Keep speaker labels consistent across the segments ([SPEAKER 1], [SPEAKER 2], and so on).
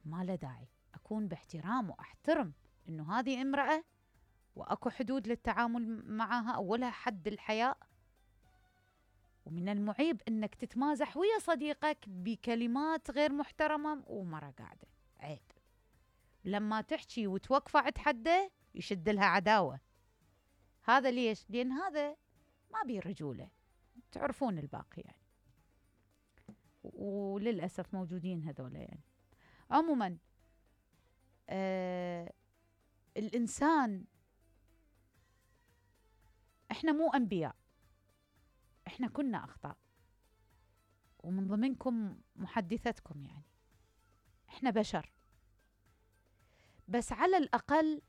[SPEAKER 1] ما له داعي. أكون باحترام وأحترم إنه هذه امرأة وأكو حدود للتعامل معها، أولها حد الحياء. ومن المعيب إنك تتمازح ويا صديقك بكلمات غير محترمة ومرة قاعدة، عيب. لما تحكي وتوقفه عند حده يشد لها عداوة. هذا ليش؟ لأن هذا ما بيه رجولة. تعرفون الباقي يعني، وللأسف موجودين هذولا يعني. عموما الإنسان، إحنا مو أنبياء، إحنا كنا أخطاء، ومن ضمنكم محدثتكم يعني. إحنا بشر، بس على الأقل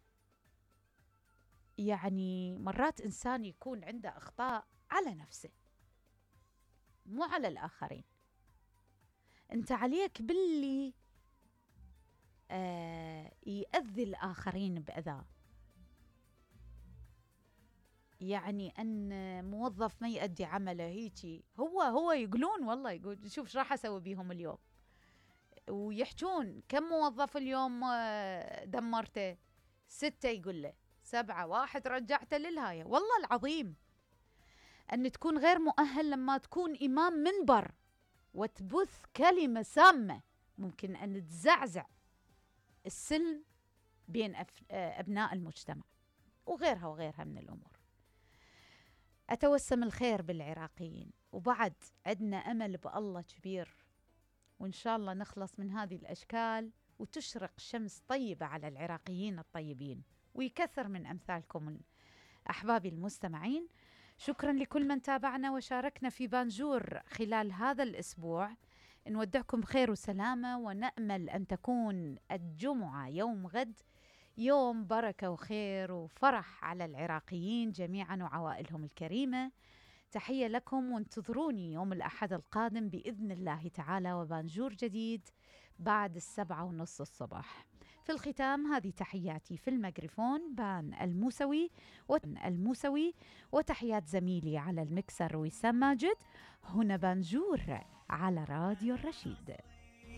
[SPEAKER 1] يعني مرات إنسان يكون عنده أخطاء على نفسه مو على الآخرين. أنت عليك باللي يأذي الآخرين بأذى. يعني أن موظف ما يؤدي عمله هيجي، هو يقولون والله، يقول شوف راح أسوي بيهم اليوم، ويحجون كم موظف اليوم دمرته؟ 6 يقول له 7، 1 رجعته للهاية. والله العظيم أن تكون غير مؤهل لما تكون إمام منبر وتبث كلمة سامة ممكن أن تزعزع السلم بين أبناء المجتمع، وغيرها وغيرها من الأمور. أتوسم الخير بالعراقيين، وبعد عندنا أمل بالله كبير، وإن شاء الله نخلص من هذه الأشكال وتشرق شمس طيبة على العراقيين الطيبين، ويكثر من أمثالكم أحبابي المستمعين. شكرا لكل من تابعنا وشاركنا في بانجور خلال هذا الأسبوع. نودعكم بخير وسلامة، ونأمل أن تكون الجمعة يوم غد يوم بركة وخير وفرح على العراقيين جميعا وعوائلهم الكريمة. تحية لكم، وانتظروني يوم الأحد القادم بإذن الله تعالى وبانجور جديد بعد 7:30 الصباح. في الختام هذه تحياتي في الميكروفون بان الموسوي، وتحيات زميلي على المكسر وسام ماجد. هنا بانجور على راديو الرشيد.